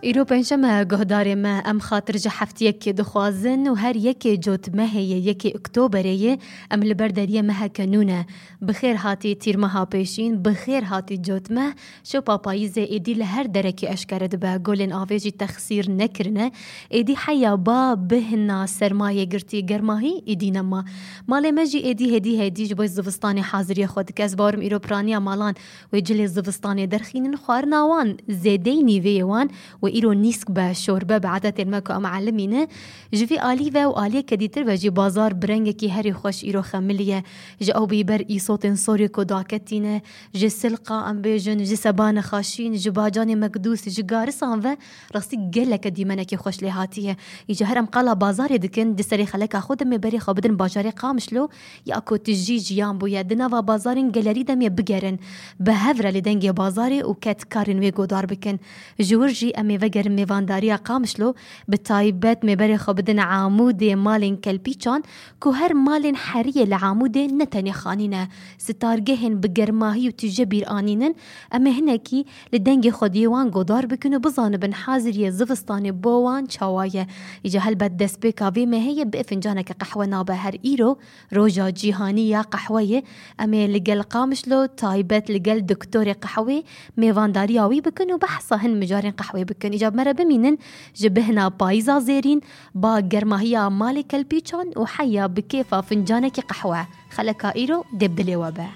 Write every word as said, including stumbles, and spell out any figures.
Îro pêncşeme, guhdarê me, em xatir ji heftiyekê dixwazin û her yekê cotmehê yê, yekê Oktoberê yê, em li ber deriyê meheke nû ne. Bi xêr hatî tîrmeha pêşîn, bi xêr hatî cotmeh. Şopa payîzê êdî li her derekê eşkere dibe, golên avê jî texsîr nekirine. Êdî heya ba bihna sermayê girtî, germahî êdî nema. Malê me jî êdî hêdî hêdî ji bo zivistanê haziriyê xwe dike. Ez bawerim îro piraniya malan wê cilê zivistanê derxînin, xwarina wan zêdeyî nîveyê wan wê îro nîsk be, şorbe be, edetên me ku em elimî ne. Ji vî alî ve û aliyeke dîtir ve jî bazar bi rengekî herî xweş îro xemiliye. Ji ew bî ber îsotên sorê ku daketîne, ji silqa em bêjin, ji sebane xaşîn, ji bacanê mekdûs, ji garisan ve rastî geleke dîmenekî xweş lê hatiye. Îca her em qala bazarê dikin, di serê xeleka xwe de em ê berê xwe bidin bajarê Qamişlo, ya ku tijî jiyan bûye. Di nava bazarên gelerî de em ê bigerin. Bi hev re li dengê bazarê û kedkarên wê godar bikin. Ji wir jî em ê vegerin mêvandariya Qamişlo, bi taybet em ê berê xwe bidin Amûdê malên kelpîçan, ku her malên heriyê li Amûdê ne tenê xanî ne, sitargehên bi germahî û tije bîr anînin, em ê hinekî li dengê xwediyê wan godar bikin û bizanibin haziriyê zivistanê bo wan çawa ye. Îca helbet destpêka vê mehê ye, bi fincaneke qehwe nabe her îro, roja cîhanî ya qehweyê. Em ê li gel Qamişlo, taybet li gel doktorê qehwê, mêvandariya wî bikin û behsa hin mijarên qehwê bikin. Îca me re bimînin ji bihna payîza zêrîn, ba germahiya malê kelpîçan û heya bi kêfa fincanekî qehwe. Xeleka îro dê bi dilê we be.